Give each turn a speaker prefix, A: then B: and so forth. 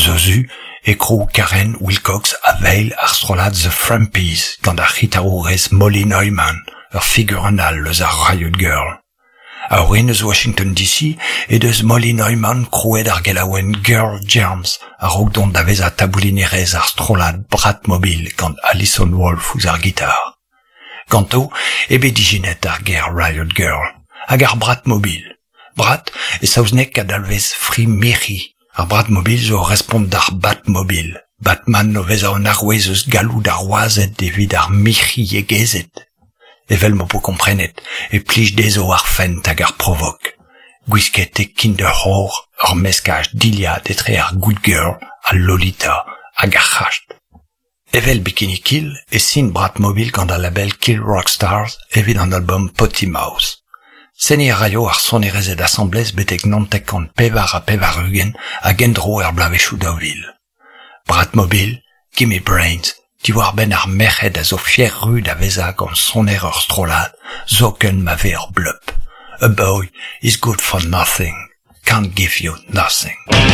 A: Eus o zu e krou Karen Wilcox ha Vale ar strollad The Frampies gant ar c'hitarourez Molly Neuman, ur figurenn all eus ar Riot Girl. A-orin eus Washington DC he deus Molly Neuman krouet ar gelaouenn Girl Germs a-raok dont da vezañ taboulinerez ar strollad Bratmobile gant Allison Wolfe ouzh ar gitar. Ganto eo bet ijinet ar ger Riot Girl hag ar Bratmobile. Brat e saozneg a dalvez fri-mirc'hi. Ar Bratmobile zo ur respont d'ar Batmobile, Batman o vezañ un arouez eus galloud ar wazed evit ar mirc'hiegezed. Evel m'ho po komprenet e plij dezho ar fent hag ar provok. Gwisket e Kinderwhore, ur meskaj dilhad etre ar Good Girl, al Lolita hag ar c'hast. Evel Bikini Kill e sin Bratmobile gant al label Kill Rock Stars evit an albom Potty Mouth. Seniñ a raio ar sonerezed asambles betek 984 hag en-dro er bloavezhioù 2000. Bratmobile, Gimme Brains, diwar-benn ar merc'hed a zo fier-ru da vezañ gant soner ur strollad, zoken ma vez ur bleup. A boy is good for nothing, can't give you nothing.